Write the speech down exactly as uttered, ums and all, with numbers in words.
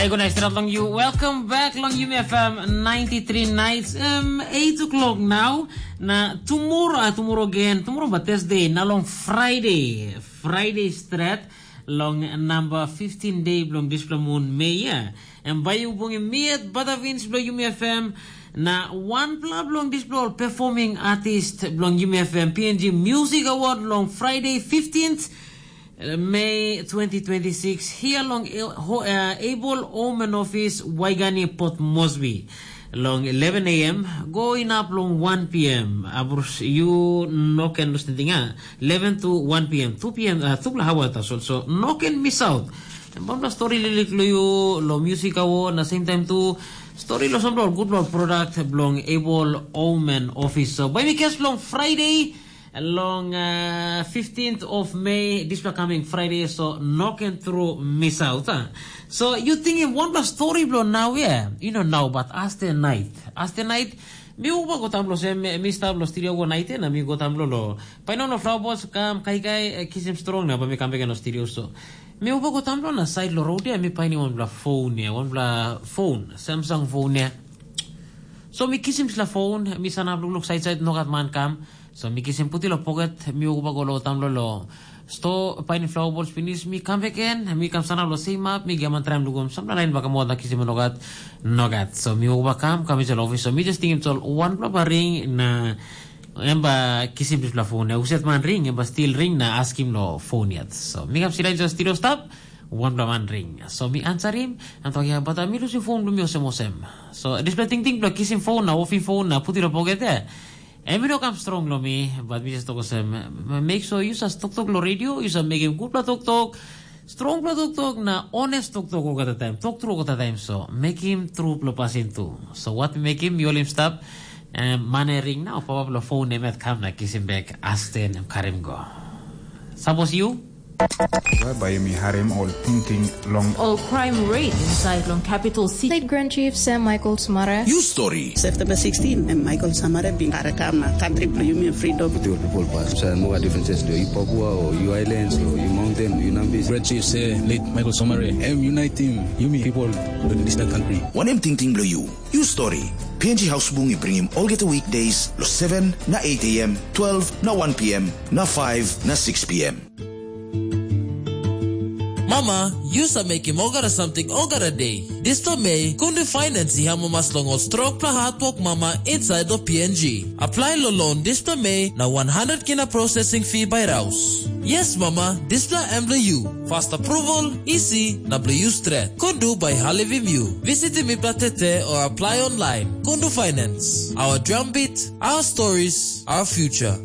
Hey, good night, straight along you. Welcome back along Yumi F M ninety-three nights, um, eight o'clock now. Na tomorrow, uh, tomorrow again, tomorrow but Thursday, na long Friday, Friday straight, long number fifteen day belong this moon, May, yeah. And by you bunging me at Badavins belong Yumi F M, na one pla belong this belong performing artist belong Yumi F M P N G Music Award long Friday fifteenth, May twenty twenty-six, here along A- Ho- uh, Able Omen Office, Waigani, Port Moresby, long eleven a m, going up long one p m. Abus, you no can lose anything, ah. eleven to one p m, two p m, uh, two hours also. So no can miss out. Bambla story lilik lo you, lo music awo, na same time tu story lo some good lo product belong Able Omen Office. So by me guess long Friday, long uh, fifteenth of May, this will coming Friday, so no can through miss out. Huh? So you thinking one plus story blow now, yeah? You know now, but as the night, as the night, mi uba go tamblo sem mi stab lo studio go night na mi go tamblo lo. Paino no flower boss kam kai kai eh, kisim strong na ba mi kam back no studio so. Mi uba go tamblo na side lo road ya mi paini one bla phone ya, one bla phone, Samsung phone ya. So mi kisim sila phone, mi sanap lukluk side side no gat man kam. So mi kisim puti lo pocket, mi uba go lo tamlo lo. Sto paini flower balls pinis, mi kam beken, mi kam sanap lo same up, mi giaman traim lugum, sampla lain baka moa da kisim nogat, nogat. So mi uba kam, kam insel office, so mi just tingim sol one bla ba ring na em ba kisim dispela phone, na uset man ring, em ba still ring na askim lo phone yet. So mi kam sila insel studio stap, one bla man ring. So mi answer him, I'm talking about mi losing phone, mi osem osem. So dispela ting ting bla kisim phone na offing phone na put it lo pocket there. Em i no kam strong long mi, but mi just tok olsem, make sure you sa toktok long radio, you sa mekim gutpela toktok, strongpela toktok na honest toktok olgeta taim, tok tru olgeta taim, so mekim trupela pasin tu. So wat mi mekim, mi holim stap, em man e ring nau, papa bilong phone em yet kam na kisim bek, asten em karim go. Sapos you? Bai mi harim ol tingting long ol crime rate inside long capital city. State Grand Chief Sam Michael Smara. You story. September sixteen, em Michael Samare bin karakam na country bilong yumi freedom. With your people pass. So no differences do you Papua or you islands or you mountain, you Nambis. Great chief say late Michael Samare, em uniting yumi people in this country. Wanem tingting bilong you? You story. P N G House Bung i bringim olgeta weekdays lo seven na eight a m, twelve na one p m, na five na six p m. Mama, yu sa mekim olgeta samting olgeta de. Dispela mei, kundu finance i amamas long ol strongpela hatwok mama inside of P N G. Apply lo loan dispela mei na one hundred kina processing fee by raus. Yes, mama, dispela em bilong yu. Fast approval, easy, na bilong yu stret. Kundu by halivim yu. Visitim mipela tete o apply online. Kundu Finance. Our drumbeat, our stories, our future.